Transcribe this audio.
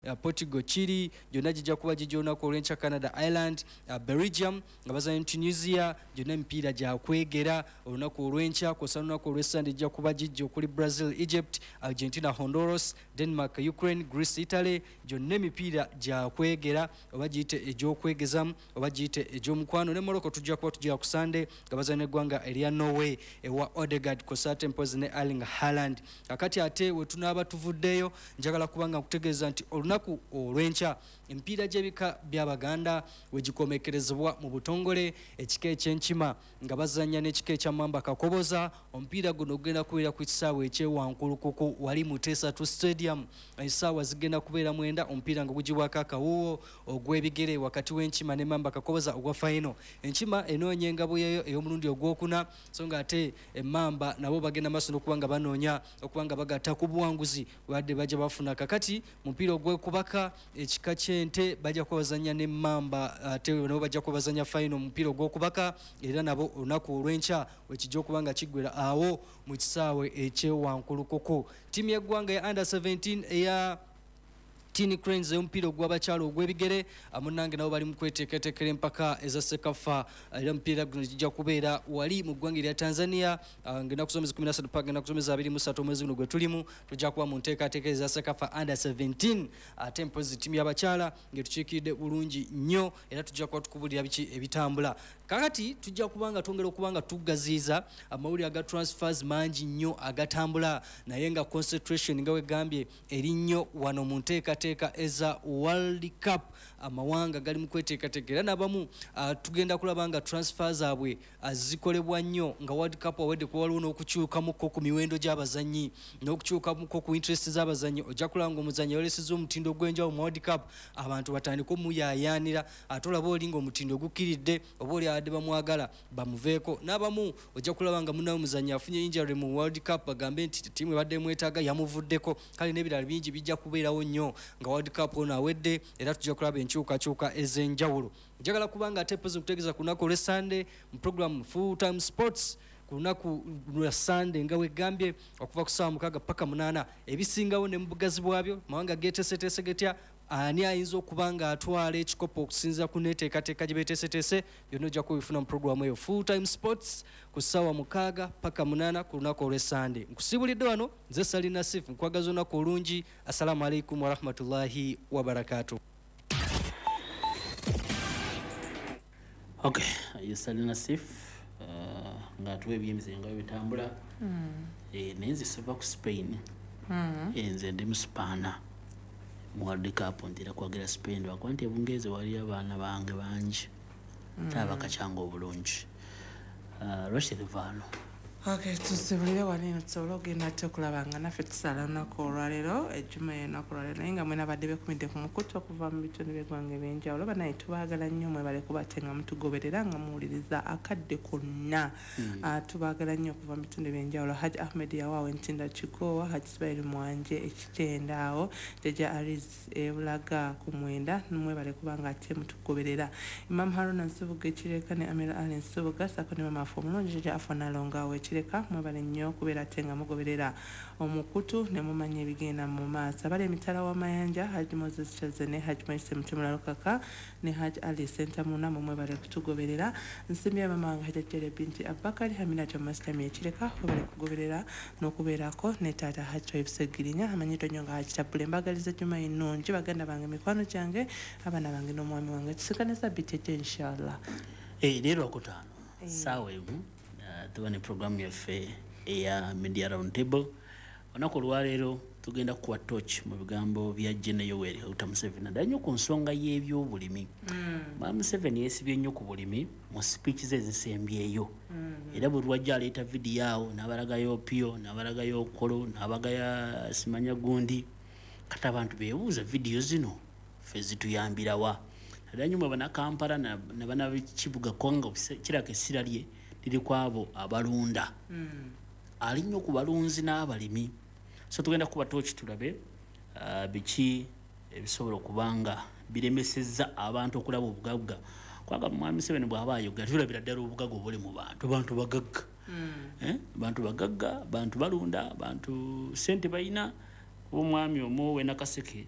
Portugal, Chile gyonna gijja kuba gijja olunaku olw'enkya. Canada, Ireland, Belgium nga bazanya Tunisia, gyonna emipiira gyakwegera olunaku olw'enkya. Kwosa olunaku olw'essande gijja kuba gijja okuli Brazil, Egypt, Argentina, Honduras, Denmark, Ukraine, Greece, Italy, gyonna emipiira gyakwegera, oba giyite egy'okwegezamu oba giyite egy'omukwano. Ne Morocco tujja kuba tujja ku Sande nga bazanya eggwanga erya Norway ewa Odegaard kwosa ate mpozi ne Erling Haaland. Kakati ate we tunaaba tuvuddeyo, njagala kuba nga nkutegeeza nti olunaku olw'enkya emipiira gy'ebika by'Abaganda wegikomekerezebwa mu butongole, ekika ekyenkima nga bazanya n'ekika ekyamamba Kakoboza. Omupiira guno gugenda kubeera ku kisaawe ekyewankulukuku wali Muteesa 2 Stadium, essaawa zigenda kubeera 9, omupiira nga gugibwako akawuwo ogw'ebigere wakati w'enkima ne Mamba Kakoboza ogwa final. Enkima enoonya engabo yayo ey'omulundi ogwokuna, so nga ate emmamba nabo bagenda maaso n'okuba nga banoonya okuba nga bagatta ku buwanguzi wadde bajja bafuna. Kakati mupiira ogw'okubaka, ekika ky'ente bajja kuba bazanya n'emmamba, ate nabo bajja kuba bazanya final mupiira ogw'okubaka, era nabo olunaku olw'enkya wekijja okuba nga kiggwera awo mu kisaawe ekyewankulukuku. Ttiimu y'eggwanga ya under 17 eya Tini Cranes ey'omupiira ogw'abakyala ogw'ebigere, munnange nabo bali mu kweteekateekera empaka eza Sekafa, era omupiira guno gijja kubeera wali mu ggwanga erya Tanzania ng'ennaku z'omwezi 13 paka ennaku z'omwezi 23 omwezi guno gwe tulimu. Tujja kuba mu nteekateeka eza Sekafa under 17, ate mpozi ttiimu y'abakyala ng'etukiikiridde bulungi nnyo, era tujja kuba tukubulira biki ebitambula. Kakati tujja kuba nga twongera okuba nga tugaziiza amawulire aga transfers mangi nnyo agatambula, naye nga concentration nga wegambye eri nnyo wano mu nteekateeka eza World Cup. Amawanga gali mu kweteekateeka, era n'abamu tugenda kulaba nga transfer zaabwe zikolebwa nnyo nga World Cup awedde, kuba waliwo n'okukyukamuko ku miwendo gy'abazannyi n'okukyukamuko ku interest z'abazannyi. Ojja kulaba nga omuzannyi yolesezza omutindo ogw'enjawulo mu World Cup, abantu batandike omuyaayaanira, ate olaba oli ng'omutindo gukkiridde, oba oli abadde bamwagala bamuveeko. N'abamu ojja kulaba nga munnawe omuzannyi afunye injury mu World Cup, bagambe nti ttiimu ebadde emwetaaga yamuvuddeko. Kale n'ebirala bingi bijja kubeerawo nnyo nga World Cup ono awedde, era tujja kulaba enkyukakyuka ez'enjawulo. Njagala kubanga ate pozi nkutegeeza ku lunaku olw'Essande mu program Full Time Sports, ku lunaku lwa Sande nga wegambye okuva ku ssaawa 6 paka 8, ebisingawo ne mu bugazi bwabyo, mawanga geeteeseteese getya, ani ayinza okuba nga atwala ekikopo okusinziira ku neteekateeka gye beeteeseteese, byonna ojja kubifuna mu programu eyo Full Time Sports ku ssaawa 6 paka 8 ku lunaku olw'Essande. Nkusiibulidde wano nze Salina Sif, nkwagaza olunaku olungi. Assalamu alaikum warahmatullahi wabarakatuh. Okay, ye Salina Sif ng'atuwa ebyemize nga bitambula. Naye nze siva ku Spain. Nze ndi mu Spaana mu World Cup, ntera kwagira Spain lwakuba nti ebungereza waliyo abaana bange bangi ate abakacyanga obulungi. Rashid Vano. Okay, tusibulire wano eno tusobole okugenda ate okulaba nga naffe tusala olunaku olwaleero, ejjuma y'olunaku olwaleero, naye nga mwena abadde bekumidde ku mukutu okuva mu bitundu by'eggwanga ebyenjawulo, banaye tubaagala nnyo, mwebale kuba ate nga mutugoberera nga muwuliriza akadde konna. Tubaagala nnyo okuva mu bitundu ebyenjawulo. Haj Ahmed Yawaawo Entinda Kigoowa, Haj Ismail Mwanje Ekitenda awo, Jjajja Aris Ebulaga ku 9, mwebale kuba nga ate mutugoberera. Imam Haruna Nsubuga Ekireka ne Amir Ali Nsubuga sako ne mama afe omulungi Jjajja Afa Nalongo awo Ekireka, mwebale nnyo okubeera ate nga mugoberera omukutu ne mumanya ebigenda mu maaso. Abali emitala w'amayanja, Hajj Moses Kyaze ne Hajj Moise Mutimula Lukaka ne Hajj Ali Sentamuna, mu mwebale kutugoberera. Nsimbye mama wange Hajja Jere Binti Abubakari Haminati Omasitami Ekireka, mwebale kugoberera n'okubeerako ne taata Hajj Toyib Segirinya amanyiddwa nnyo nga Hajj Tabule. Mbagaliza Juma ennungi baganda bange, mikwano gyange, abaana bange n'omwami wange. Tusikane sabiti ejja inshallah. Leero Lwakutaano ssaawa 1 tuba ne programu yaffe eya Media Round Table. Olunaku olwaleero tugenda kukuwa torch mu bigambo bya Gen Yoweri Kaguta Museveni naddala nnyo ku nsonga y'ebyobulimi. Mwami Museveni yeesibye nnyo ku bulimi mu speech ze ezisembyeyo, era buli lwajja aleeta vidiyo awo n'abalagayo Opio, n'abalagayo Okolo, n'abagaya simanya gundi. Kati abantu beebuuza vidiyo zino ffe zituyambirawa, naddala nnyo mwe Bannakampala ne bannakibuga, kubanga kiraka essira lye liri ku abo abalunda. Ali nnyo ku balunzi n'abalimi. So tugenda kuba toki tulabe biki ebisobola okuba nga biremesezza abantu okulaba obugagga, kubanga Mwami Museveni bw'aba ayogera tulabira ddala obugagga obuli mu bantu. Bantu bagagga, bantu bagagga, bantu balunda, bantu sente balina. Kuba omwami omu w'e Nakaseke